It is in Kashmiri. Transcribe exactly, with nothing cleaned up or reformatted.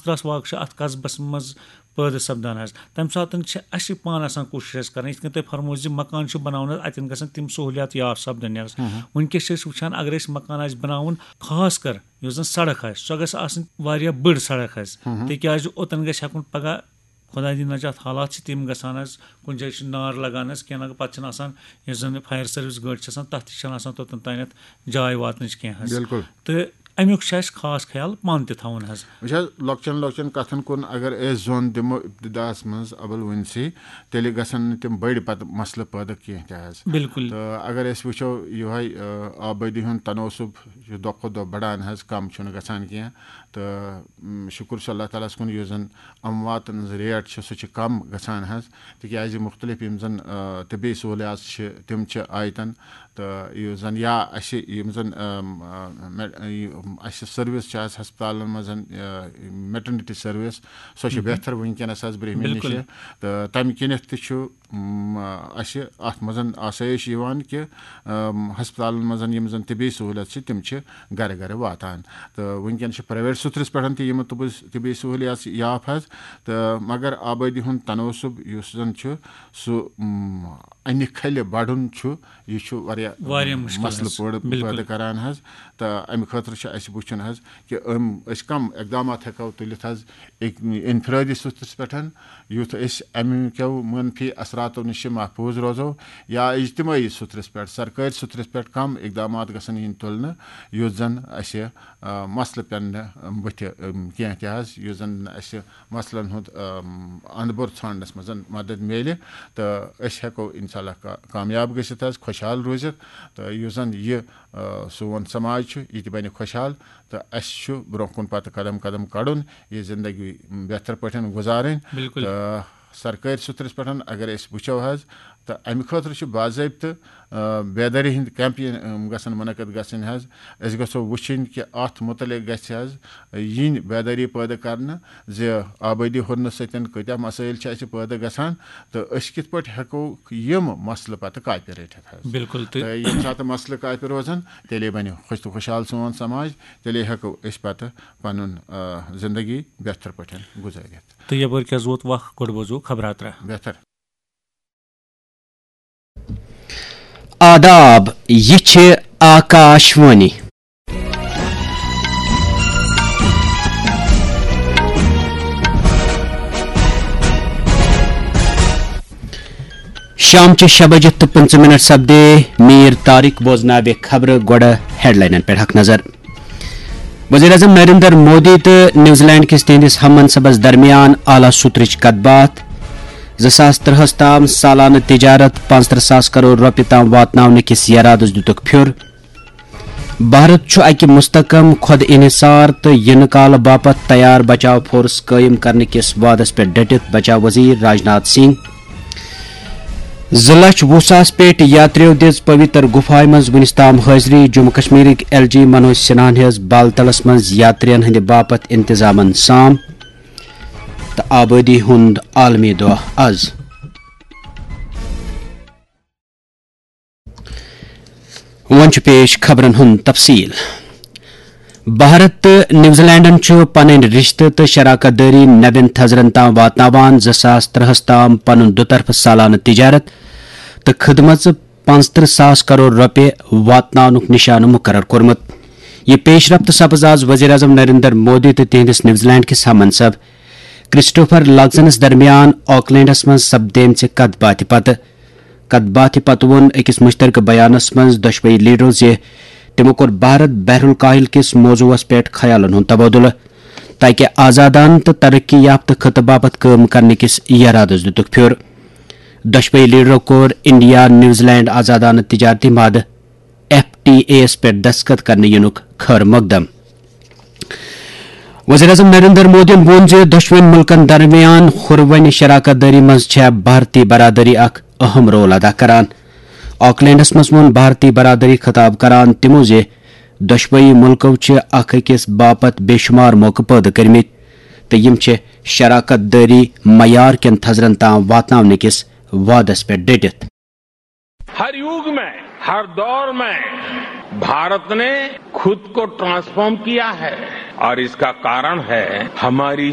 دَس واقعہٕ چھِ اَتھ قصبس منٛز پٲدٕ سپدان حظ۔ تَمہِ ساتہٕ چھِ اَسہِ پانہٕ آسان کوٗشِش حظ کَرٕنۍ، یِتھ کٔنۍ تۄہہِ فرموو زِ مکان چھُ بَناوُن حظ، اَتٮ۪ن گژھن تِم سہوٗلیات یاف سپدٕنۍ حظ۔ وٕنکیٚس چھِ أسۍ وٕچھان، اگر أسۍ مکان آسہِ بَناوُن، خاص کر یُس زَن سڑک آسہِ، سۄ گژھِ آسٕنۍ واریاہ بٔڑ سڑک حظ، تِکیٛازِ اوٚتَن گژھِ ہٮ۪کُن پگاہ، خۄداے دِیِن نجات، حالات چھِ تِم گژھان حظ، کُنہِ جایہِ چھُ نار لگان حظ، کینٛہہ نہ پتہٕ چھِنہٕ آسان، یُس زَن fire service گٲڑۍ چھِ آسان، تَتھ تہِ چھَنہٕ آسان توٚتَن تانٮ۪تھ جاے واتنٕچ کینٛہہ حظ۔ بِلکُل۔ تہٕ اَمیُک چھُ اَسہِ خاص خیال پانہٕ تہِ تھاوُن حظ۔ وٕچھ حظ، لۄکچٮ۪ن لۄکچٮ۪ن کَتھَن کُن اگر أسۍ زوٚن دِمو ابتداہَس منٛز اَبَل وٕنۍسٕے، تیٚلہِ گژھن نہٕ تِم بٔڑۍ پَتہٕ مسلہٕ پٲدٕ کینٛہہ تہِ حظ۔ بِلکُل۔ تہٕ اگر أسۍ وٕچھو یِہوٚے، آ، آبٲدی ہُنٛد تناسب چھُ دۄہ کھۄتہٕ دۄہ بَڑان حظ، کَم چھُنہٕ گژھان کینٛہہ۔ تہٕ، م، شُکُر چھُ اللہ تعالیٰ ہَس کُن، یُس زَن اَمواتَن ہٕنٛز rate چھِ، سُہ چھِ کَم گژھان حظ، تِکیٛازِ مُختلف یِم زَن، آ، طبی سہوٗلیات چھِ، تِم چھِ آیتَن۔ تہٕ یُس زَن یا اَسہِ یِم زَن، آم، آ، مے-، یہِ، اَسہِ service چھِ آز ہسپتالَن منٛز، آ، maternity service، سۄ چھِ بہتر وٕنکیٚنَس حظ برٛونٛہمہِ بِلکُل۔ نِشہِ۔ تہٕ تَمہِ کِنٮ۪تھ تہِ چھُ، م، اَسہِ اَتھ منٛز آسٲیِش یِوان کہِ، آم، ہسپتالَن منٛز یِم زَن طبی سہوٗلیت چھِ، تِم چھِ گَرٕ گَرٕ واتان۔ تہٕ وٕنکیٚن چھِ private سُترَس پٮ۪ٹھ تہِ یِم طبی، طبی سہوٗلیات یاف حظ۔ تہٕ مگر آبٲدی ہُنٛد تناسب یُس زَن چھُ، سُہ، م، اَنہِ کھلہِ بَڑُن چھُ، یہِ چھُ واریاہ، واریاہ مُشکِل مسلہٕ حظ۔ پٲدٕ، بِلکُل۔ پٲدٕ کران حظ۔ تہٕ اَمہِ خٲطرٕ چھُ اَسہِ وٕچھُن حظ کہِ أمۍ، أسۍ کَم اقدامات ہٮ۪کو تُلِتھ حظ، اِک-، انفرٲدی سطحس پٮ۪ٹھ، یُتھ أسۍ اَمہِ کیو منفی اثراتو نِش محفوٗظ روزو، یا اجتمٲعی سطحس پٮ۪ٹھ، سرکٲرۍ سطحس پٮ۪ٹھ کَم اقدامات گژھن یِنۍ تُلنہٕ، یُتھ زَن اَسہِ، آ، مسلہٕ پٮ۪ن نہٕ بٕتھِ، آ، کینٛہہ تہِ حظ، یُتھ زَن اَسہِ مسلن ہُنٛد، آم، اندٕ بوٚر ژھانڈنس منٛز مدد میلہِ تہٕ أسۍ ہٮ۪کو انشاءاللہ کا-، کامیاب گٔژھِتھ حظ، خۄشحال روٗزِتھ۔ تہٕ یُس زن یہِ، آ، سون سماج چھُ، یہِ تہِ بنہِ خۄشحال تہٕ اَسہِ چھُ برٛونٛہہ کُن پتہٕ قدم قدم کڑُن، یہِ زندگی بہتر پٲٹھۍ گُزارٕنۍ۔ بِلکُل۔ تہٕ سرکٲرۍ سطرس پٮ۪ٹھ اگر أسۍ وٕچھو حظ، تہٕ امہِ خٲطرٕ چھُ باضٲبطہٕ، آ، بیدٲری ہٕنٛدۍ کیمپ یِن، آم، گژھن منعقد گژھٕنۍ حظ۔ أسۍ گژھو وٕچھِنۍ کہِ اتھ متعلق گژھِ حظ یِنۍ بیدٲری پٲدٕ کرنہٕ زِ آبٲدی ہُرنہٕ سۭتۍ کۭتیاہ مسٲیل چھِ اَسہِ پٲدٕ گژھان تہٕ أسۍ کِتھ پٲٹھۍ ہٮ۪کو یِم مسلہٕ پتہٕ کاپہِ رٔٹِتھ حظ۔ بِلکُل۔ تہٕ تہٕ ییٚمہِ ساتہٕ مسلہٕ کاپہِ روزن، تیٚلے بنہِ خۄش تہٕ خۄشحال سون سماج، تیٚلے ہٮ۪کو أسۍ پتہٕ پنُن، آ، زندگی بہتر پٲٹھۍ گُزٲرِتھ۔ تہٕ یپٲرۍ کیٛاہ زوت وق، گۄڈٕ بوزو خبراترا۔ بہتر۔ آداب، یہِ چھِ آکاش وانی۔ شام چہِ شےٚ بجہِ تہٕ پٕنٛژٕہ منٹ سپدے۔ میر طارق بوزناوِ خبرٕ، گۄڈٕ ہیڈلاینن پٮ۪ٹھ اکھ نظر۔ وزیر اعظم نریندر مودی تہٕ نیوزی لینڈ کِس تِہنٛدِس ہم منصبس درمیان اعلیٰ سطرٕچ کتھ باتھ۔ زٕ ساس ترٛہس تام سالانہٕ تجارت پانٛژترٕہ ساس کرور رۄپیہِ تام واتناونہٕ کِس یرادس دِتُکھ پھیُر۔ بھارت چھُ اکہِ مستحکم، خود انحصار تہٕ یِنہٕ کالہٕ باپتھ تیار بچاو فورس قٲیِم کرنہٕ کِس وعدس پٮ۪ٹھ ڈٔٹِتھ، بچاو وزیر راجناتھ سنگھ۔ زٕ لچھ وُہ ساس پیٹھ یاتریو دِژ پویتر گُفایہِ منٛز وُنِس تام حٲضری۔ جموں کشمیرٕکۍ ایل جی منوج سنہاہن ہیٚژ بالتلس منٛز یاترین ہٕنٛدِ باپتھ انتظامن سام۔ تہٕ آبٲدی ہُنٛد عالمی دۄہ از۔ وۄنۍ چھُ پیش خبرن ہُنٛد تفصیل۔ بھارت تہٕ نیوزی لینڈن چھُ پنٕنۍ رشتہٕ تہٕ شراکت دٲری نوٮ۪ن تھزرن تام واتناوان۔ زٕ ساس ترٛہس تام پنُن دُطرفہٕ سالانہٕ تجارت تہٕ خدمژٕ پانٛژترٕہ ساس کرور رۄپیہِ واتناونُک نشانہٕ مقرر کوٚرمُت۔ یہِ پیش رفت سپٕز آز وزیر اعظم نریندر مودی تہٕ تِہنٛدِس نیوزی لینڈ کِس ہم منصب کرسٹوفر لگزنس درمیان آکلینڈس منٛز سپدیمژِ کتھ باتھِ پتہٕ۔ کتھ باتھِ پتہٕ ووٚن أکِس مشترکہٕ بیانس منٛز دۄشوٕے لیڈرو زِ تِمو کوٚر بھارت بحر الکاہل کِس موضوعس پٮ۪ٹھ خیالن ہُنٛد تبادلہٕ، تاکہ آزادانہٕ تہٕ ترقی یافتہٕ خطہٕ باپتھ کٲم کرنہٕ کِس یرادس دِتُکھ پھیُر۔ دۄشوٕے لیڈرو کوٚر انڈیا نیوزی لینڈ آزادانہٕ تجارتی معاہدٕ، ایف ٹی اے یَس پٮ۪ٹھ دستخط کرنہٕ یِنُک خٲر مقدم۔ وزیر اعظم نریندر مودیَن ووٚن زِ دۄشوٕنی مُلکَن درمیان ہُروٕنۍ شراکت دٲری منٛز چھےٚ بھارتی برادری اکھ اہم رول ادا کران۔ آکلینڈَس منٛز ووٚن بھارتی برادری خطاب کران تِمَو زِ دۄشوٕنی مُلکَو چھِ اکھ أکِس باپتھ بے شمار موقعہٕ پٲدٕ کٔرمٕتۍ تہٕ یِم چھِ شراکت دٲری معیار کٮ۪ن تھزرَن تام واتناونہٕ کِس وعدَس پٮ۪ٹھ ڈٔٹِتھ۔ ہر یوگ میں، ہر دور میں بھارت نے خود کو ٹرانسفارم کیا ہے اور اس کا کارن ہے ہماری